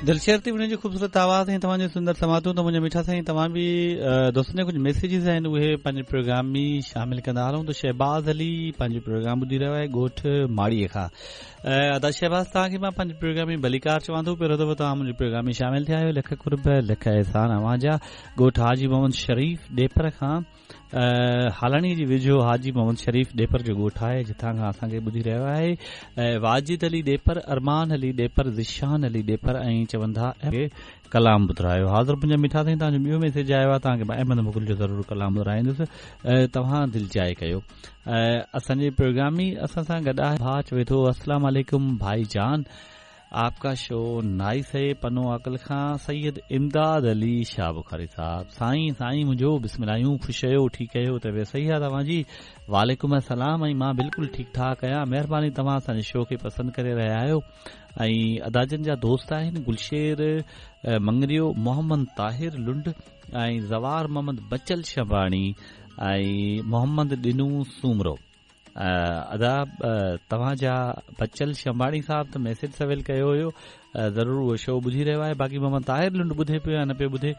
دلشير ٿي وڃي خوبصورت آواز ۽ توهان جون سندر سماعتون ته منهنجا مٺا سائين توهان به دوستن جا ڪجهه ميسيجز آهن اهي پنهنجي پروگرام ۾ شامل ڪندا هلون ته شهباز علي پنهنجو پروگرام ٻڌي رهيو آهي ڳوٺ ماڙي کان ادا شهباز توهان کي مان پنهنجي پروگرام ۾ ڀليڪار چوان ٿو پهريون دفعو توهان منهنجي پروگرام ۾ شامل ٿيا آهيو لک قرب لک احسان اوهان جا ڳوٺ حاجي محمد شريف ڏيپر کان هالاڻي جي ويجهو حاجي محمد شريف ڏيپر جو ڳوٺ آهي جتان کان اسان کي ٻڌي رهيو آهي واجد علي ڏيپر ارمان علي ڏيپر ذيشان علي ڏيپر ۽ چون ٿا ڪلام ٻڌرايو حاضر منهنجا مٺا سائين توهان جو ٻيو ميسيج آيو آهي توهان کي مان احمد مغل جو ضرور ڪلام ٻڌرائيندس توهان دلجاء ڪيو اسان جي پروگرام ۾ اسان سان گڏ آهي ڀاء چوي ٿو السلام عليڪم ڀائي جان آپ ڪا شو نائس هي پنو عاقل کان سيد امداد علي شاهه بخاري صاحب سائين سائين منهنجو بسم الله آهيون خوش آهيو ٺيڪ آهيو طبيعت صحيح آهي توهان جي وعليڪم السلام ۽ مان بلڪل ٺيڪ ٺاڪ آهيان مهرباني توهان اسان جي شو کي پسند ڪري رهيا آهيو ۽ ادا جن جا دوست آهن گلشير مڱريو محمد طاهر لنڊ ۽ زوار محمد بچل شنباڻي ۽ محمد ڏنو سومرو ادا توهان جا بچل شنباڻي صاحب ته ميسيج سويل ڪيو هيو ضرور اهو شو ٻڌي رهيو آهي باقي محمد طاهر لنڊ ٻڌي پيو يا نه پيو ٻڌي.